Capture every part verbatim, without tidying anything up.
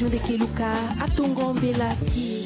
Ndeke Luka, atongo mbela ti.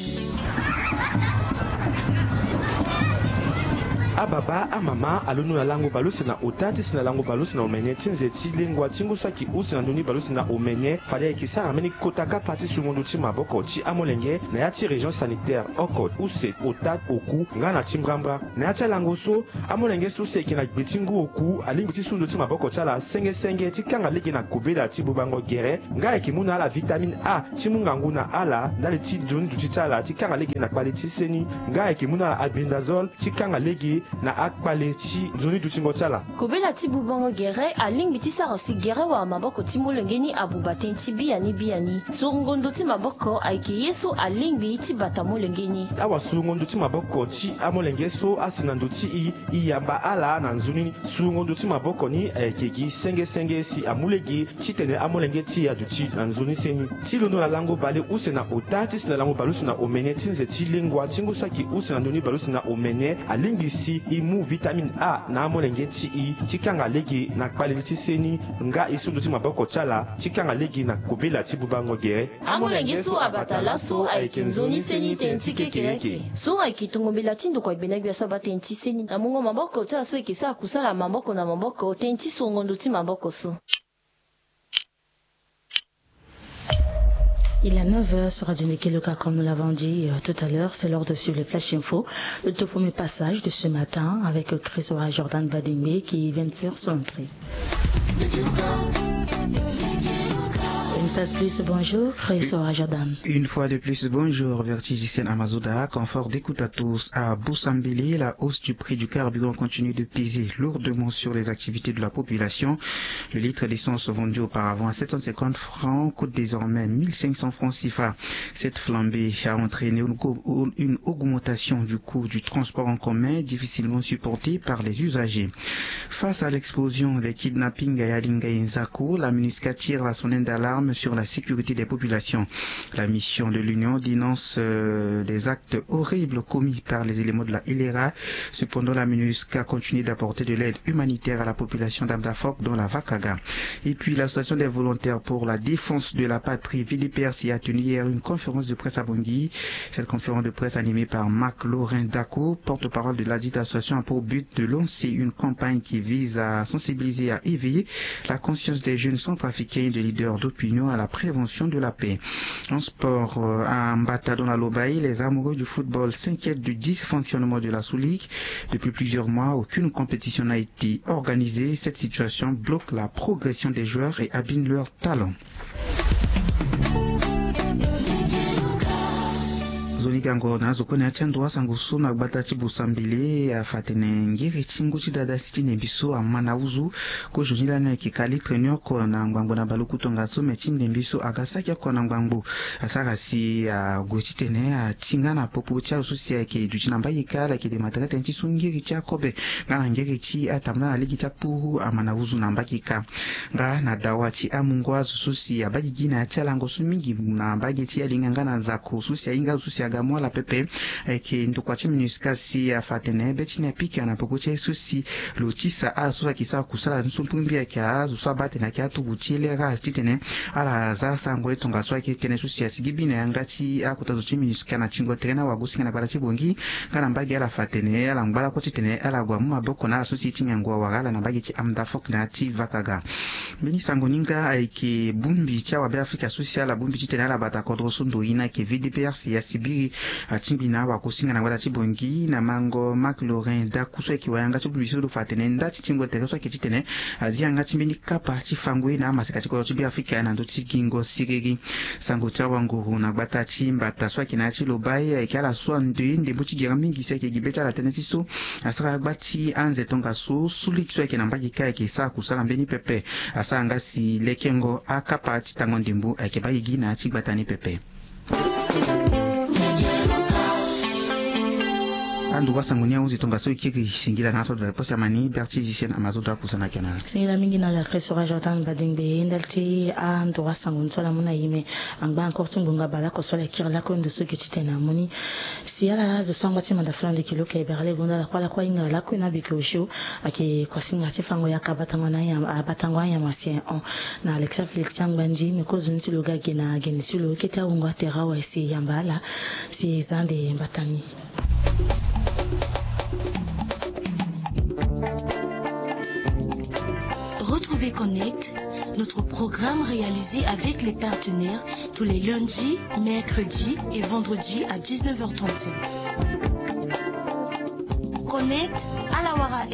Ababa, amama, alondo na lango baleuse na ota ti si na lango baleuse na omene ti nze ti lengua ti ngu so ayeke use na ndoni baleuse na omene. Fade ayeke sara mbeni kota kapa ti sungo ndo ti maboko ti amolenge na ya ti région sanitaire oko, use, ota, oku nga na ti mbrambra. Na ya ti alango so, amolenge so si ayeke na gbe ti ngu oku alingbi ti su ndo ti maboko ti ala senge senge ti kanga lege na kobela ti bubango gere, nga ayeke mu na ala vitamine A ti mu ngangu na ala ndali ti nzoni duti ti ala ti kanga lege na kpale ti seni, nga ayeke mu na ala albendazole ti kanga lege na akpale ti nzoni dutingo ti ala. Kobela ti bubango gere alingbi ti sara si gere wala maboko ti molenge ni abuba tënë ti biani biani. Surongo ndo ti maboko ayeke ye so alingbi ti bata molenge ni. Awasurungo ndo ti maboko ti amolenge so asi na ndo ti i, i yamba ala na nzoni ni. Surungo ndo ti maboko ni ayeke gi senge senge si amu lege titene amolenge ti e aduti na nzoni seni. Ti londo na lango baleuse na ota ti si na lango baleuse na omene ti nze ti lengua ti ngu so ayeke use na ndoni baleuse na omene, alingbi si e mu vitamine A na amolenge ti e ti kanga lege na kpale ti seni, nga e su ndo ti maboko ti ala ti kanga lege na kobela ti bubango gere. Amolenge so abata laso ayeke nzoni seni tënë ti kekereke. So ayeke tongo mbela ti ndokua gbena gbia so abaa tënë ti seni na mungo maboko ti ala so ayeke sara kusala maboko na maboko tënë ti surongo ndo ti maboko so. Il est neuf heures sur Radio Ndeke Luka, comme nous l'avons dit, euh, tout à l'heure, c'est l'heure de suivre le Flash Info. Le tout premier passage de ce matin avec, euh, Chris Ora Jordan Badingbe qui vient de faire son entrée. Une fois de plus, bonjour, Chris Ora Jordan. Une fois de plus, bonjour, Vertige Hissène Amazouda, confort d'écoute à tous. À Boussambélé, la hausse du prix du carburant continue de peser lourdement sur les activités de la population. Le litre d'essence vendu auparavant à sept cent cinquante francs coûte désormais mille cinq cents francs CFA. Cette flambée a entraîné une co-, une augmentation du coût du transport en commun difficilement supportée par les usagers. Face à l'explosion des kidnappings à Yalinga et Nzako, la MINUSCA tire la sonnette d'alarme sur la sécurité des populations. La mission de l'Union dénonce, euh, des actes horribles commis par les éléments de la L R A. Cependant, la MINUSCA continue d'apporter de l'aide humanitaire à la population d'Amdafok, dont la Vakaga. Et puis, l'Association des volontaires pour la défense de la patrie, V D P R C, a tenu hier une conférence de presse à Bangui. Cette conférence de presse animée par Marc Laurent Dako, porte-parole de ladite association, a pour but de lancer une campagne qui vise à sensibiliser, à éveiller la conscience des jeunes centrafricains et des leaders d'opinion à la prévention de la paix. En sport, euh, à Mbata, dans la Lobaye, les amoureux du football s'inquiètent du dysfonctionnement de la sous-ligue. Depuis plusieurs mois, aucune compétition n'a été organisée. Cette situation bloque la progression des joueurs et abîme leur talent. Nzoni gango na azo kue na ya ti ando asango so na gbata ti Bosambele afa atene ngiri ti ngu ti dada si ti ndembi so ama na uzu. Kozoni lani ayeke ka litre ni oko na ngbangbo na baluku tongaso, me ti ndembi so aga saki oko na ngbangbo. Asara si ague titene atinga na popo ti azo so si ayeke duti na mbage kâ ala yeke dema tere tënë ti so ngiri ti akobe nga na ngiri ti atambula na lege ti akpuru ama na uzu na mbage kâ. Nga na dawa ti amungo azo so si abaa gigi na ya ti alango so mingi na mbage ti Yalinga nga na Nzako so si ahinga azo so si aga mu ala pepe. Ayeke ndokua ti MINUSCA si afa atene be ti ni apika na peko ti aye so si lo tisa azo so ayeke sara kusala ni so mbi ayeke azo so abaa atene ayeke aturugu ti L R A titene ala za asango ye tongaso ayeke tënë so si asigi bi na yanga ti akota zo ti MINUSCA na tingo tere na wagosinga na gbata ti Bangui nga na mbage. Ala fa atene ala ngba lakue titene ala gue amu maboko na ala so si ye ti ngangu awara ala na mbage ti Amdafok na ya ti Vakaga. Mbeni sango ni nga ayeke bongbi ti awabe Afrika so si ala bongbi titene ala bata kodro so ndo ye ni ayeke V D P R C ya sibiri. Atingbi na awagosinga na gbata ti Bangui na mango Marc Laurent Daku so ayeke wayanga ti bongbi so lo fa atene nda ti tingo tere so ayeke titene azi yanga ti mbeni kapa ti fango ye na amaseka ti kodro ti Beafrika na ndö ti gingo siriri. Sango ti awanguru na gbata ti Mbata so ayeke na ya ti Lobaye ayeke ala so andoye ndembo ti gere mingi si ayeke gi be ti ala tënë ti so asara gba ti anze tongaso, sous-ligue so ayeke na mbage kâ ayeke sara kusala mbeni pepe. Asara nga si lekengo akapa ti tango ndembo ayeke baa gigi na ya ti gbata ni pepe. Anduru asango ni ahunzi tongaso e kiri singila na aso dua eposi amani Berti Zisien Amazodo akusana kanal. Singila mingi na la crèche sora Jordan Badingbe ndali ti anduru asango ni so ala mu na yime. Angba encore ti ngbonga bale oko so ala kiri lakue ndo so gi titene amu ni. Si ala zo so angba ti manda fula ndiki luka ebere ala e gonda lakue lakue ahinga lakue na bike osio. Ayeke kuasinga ti fango yaka abatango na anyama abatango anyama si en hon. Na Alexia Félix ti angba ndi me kozo ni ti lo ga ge na gene ti lo kete awungo atere awe si e yamba ala. Si e za ande mbata ni. Retrouvez Connect, notre programme réalisé avec les partenaires tous les lundis, mercredis et vendredis à dix-neuf heures trente-cinq. Connect, ala wara